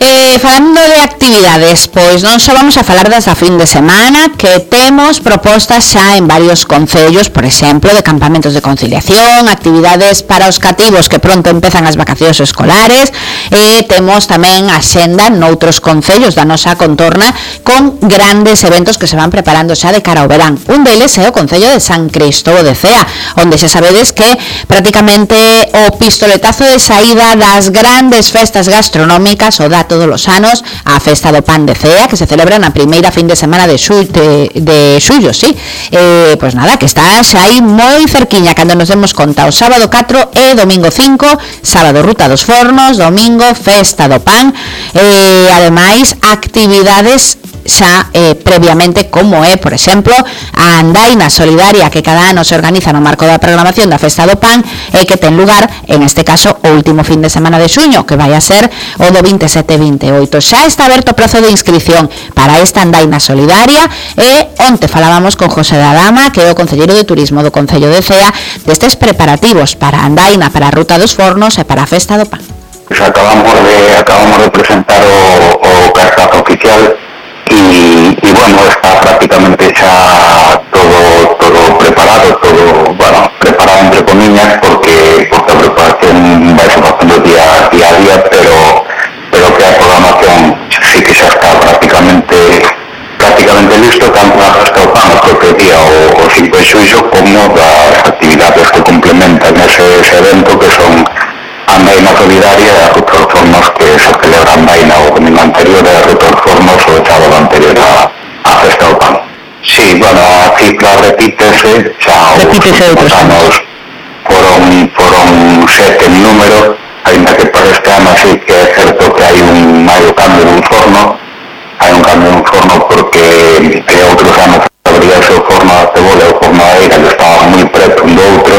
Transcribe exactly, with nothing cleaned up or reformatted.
Eh, falando de actividades, pois non só vamos a falar das da fin de semana, que temos propostas xa en varios concellos, por exemplo, de campamentos de conciliación, actividades para os cativos que pronto empezan as vacacións escolares, e temos tamén a xenda noutros concellos da nosa contorna con grandes eventos que se van preparando xa de cara ao verán. Un deles é o Concello de San Cristóbal de Cea, onde xa sabedes que prácticamente o pistoletazo de saída das grandes festas gastronómicas o da todos os anos a Festa do Pan de Cea, que se celebra na primeira fin de semana de xullo, de, de xullo, sí. Eh, pois nada, que está xa aí moi cerquiña cando nos demos conta. O sábado catro e domingo cinco, sábado Ruta dos Fornos, domingo Festa do Pan, e ademais actividades xa eh, previamente, como é, por exemplo, a Andaina Solidaria que cada ano se organiza no marco da programación da Festa do Pan e que ten lugar, en este caso, o último fin de semana de xuño, que vai a ser o do vinte e sete e vinte e oito. Xa está aberto o prazo de inscripción para esta Andaina Solidaria e onte falábamos con José da Dama, que é o concelleiro de Turismo do Concello de Cea, destes preparativos para a Andaina, para a Ruta dos Fornos e para a Festa do Pan. Pues acabamos de acabamos de presentar o, o cartazo oficial y, y bueno, está prácticamente ya todo todo preparado, todo, bueno, preparado entre comillas, porque, porque la preparación va a ser bastante día, día a día, pero, pero que la programación sí que ya está prácticamente prácticamente listo, tanto la Festa do Pan, o propio día o, o cinco de xullo, como las actividades que complementan ese, ese evento, que son Andaina Solidaria e a Ruta dos Fornos, que se celebra Andaina o domingo anterior, e a Ruta dos Fornos o sábado anterior a, a Festa do Pan. Sí, bueno, a cifra repítese, xa repítese os anos foron, foron sete en número, ainda que para este ano sí que é certo que hai un, hai un cambio dun forno, hai un cambio dun forno porque eh, outros anos abría o seu forno a cebola e o forno a eira que estaba moi preto un do outro,